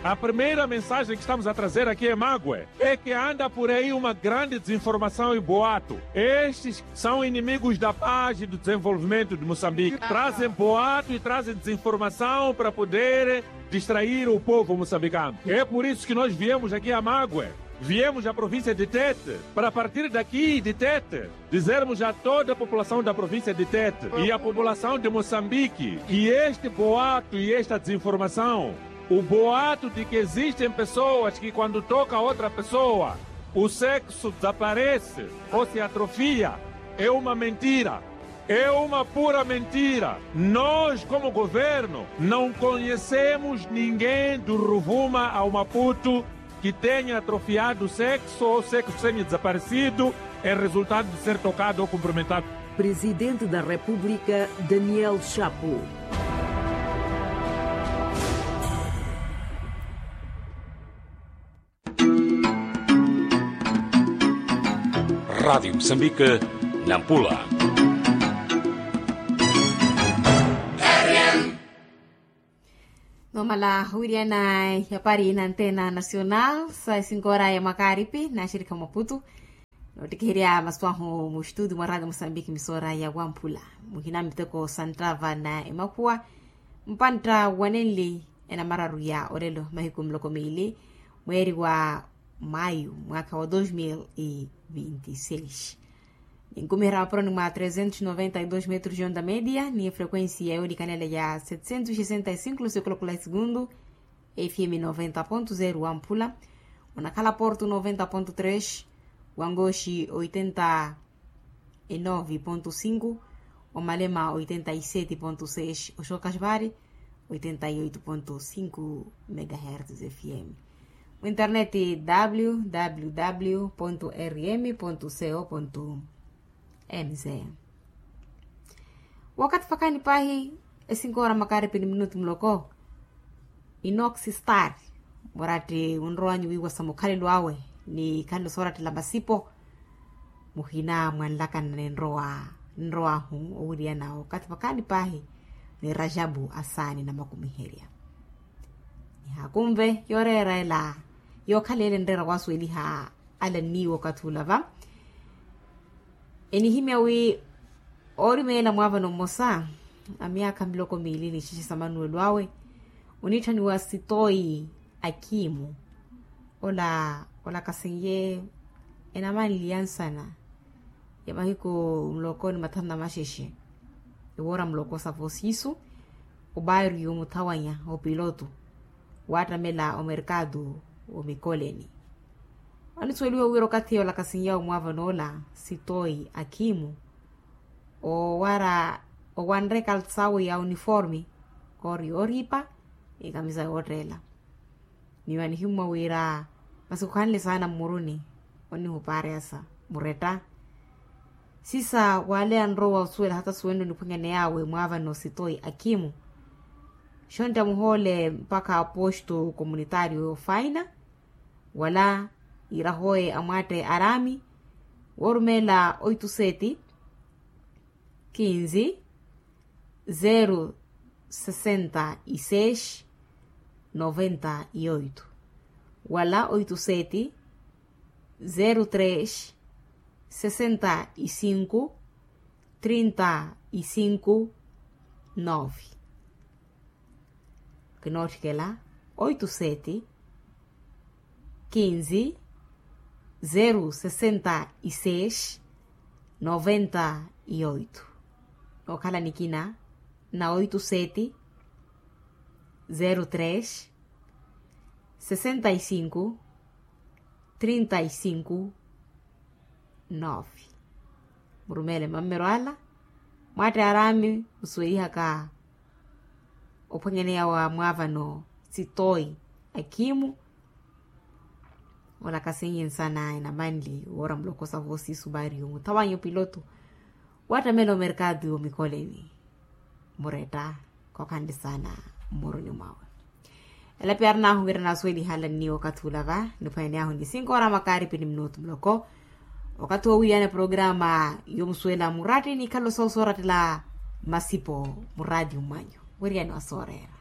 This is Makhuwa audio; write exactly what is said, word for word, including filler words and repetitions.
A primeira mensagem que estamos a trazer aqui em mague é que anda por aí uma grande desinformação e boato. Estes são inimigos da paz e do desenvolvimento de moçambique, trazem boato e trazem desinformação para poder distrair o povo moçambicano. É por isso que nós viemos aqui a mague, viemos à província de tete, para partir daqui de tete dizermos a toda a população da província de tete e a população de moçambique que este boato e esta desinformação, o boato de que existem pessoas que quando toca outra pessoa o sexo desaparece ou se atrofia, é uma mentira. É uma pura mentira. Nós como governo não conhecemos ninguém do ruvuma ao maputo que tenha atrofiado o sexo ou sexo tenha desaparecido em resultado de ser tocado ou cumprimentado. Presidente da República, Daniel Chapo. Rádio Moçambique, Nampula. Nomala wiriana yapari na antena nacional sa esinkoora ya makaripi na shirika maputu. Notikiherya maswahu mu estudio mwa radio moçambique misora ya wampula muhina miteko santrava na emakhuwa mpantta wanenli enamararu ya olelo mahiku muloko miili mweeri wa mayu mwaka wa dos mil e vinte e seis. Ninkumiherya mapuroni mwa trezentos noventa e dos metros de onda media ni efrequencia yoolikanela ya setecentos sesenta e cinco lusikolokula e segundo. Fm noventa ponto zero wa mpula onakhala porto noventa ponto tres, wa ngoxi oitenta e nove ponto cinco, wa malema oitenta e sete ponto seis, oxokaxvari oitenta e oito ponto cinco megahertz fm. Mu internet www rm co mz. Wakati fakani pahi esinkoora makaripi ni minutu muloko. Inoxi star muratti wunrowanyu wiiwasa mukhalelo awe ni khalelo soorattela masipo. Muhina mwanlakana ni nrowa nrowahu owiriyana okathi vakhaani paahi ni rajabu asaani namakumiherya. Nihaakunve yooreera ela yookhala ele nreera waasuweliha ala nniiwa okathi ula va. Enihimya wi oorimeela mwaavano mmosa a myaakha miloko miili ni ixexe sa manuwelo awe oniitthaniwa sitoyi akiimu ola olakasenye enamanliya nsana ya mahiku muloko ni mathanu na maxexe. Ewoora muloko sa vosiisu obaariyo muthawanya opiloto waattamela omerkatu omikoleni. Anisuweliwa wira okathi olakasenyawe mwaavano ola sitoyi akiimu owara owanre ekalsawu ya uniforme koori yooriipa ni kamisa yootteela. Miyo anihimmwa wira masi khuhanle saana mmuruni onihupaareyasa muretta sisa waaleya nrowa osuwela hata suwenle oniphwanyaneyaawe mwaavano sitoyi akiimu. Xontta muhoole mpakha aposto komunitario ofaina wala irahoye amwaatte araami woorumeela oitu seti kinzi zeru sesenta y seis noventa y oito wala oitu seti zeru tres sesenta y cinco trinta y cinco nove. Kinootthikela oitu seti kinzi zeru sesenta y seis noventa y oito. Nookhala nikina na oitu seti zeru tres sesenta y cinco trinta y cinco nove. Murumeele mammero ala mwaatte araami musuwelihaka ophwanyaneya wa mwaavano sitoyi akiimu olakasenye nsana enamanli woora muloko sa vosiisu baariyo muthawanya opiloto waattamela omerkatu omikoleni. Muretta kookhanle saana mmuruni mwawe. Elapi arinahu wira naasuweliha ala nniiwa okathi ula va niphwanyaneyahu ni sinkoora makaaripi ni minutu muloko. Okathi woowiiyana programa yomusuwela muratti ni khalo soosorattela masipo muraati mwanyu. Wiriyani wasooreera.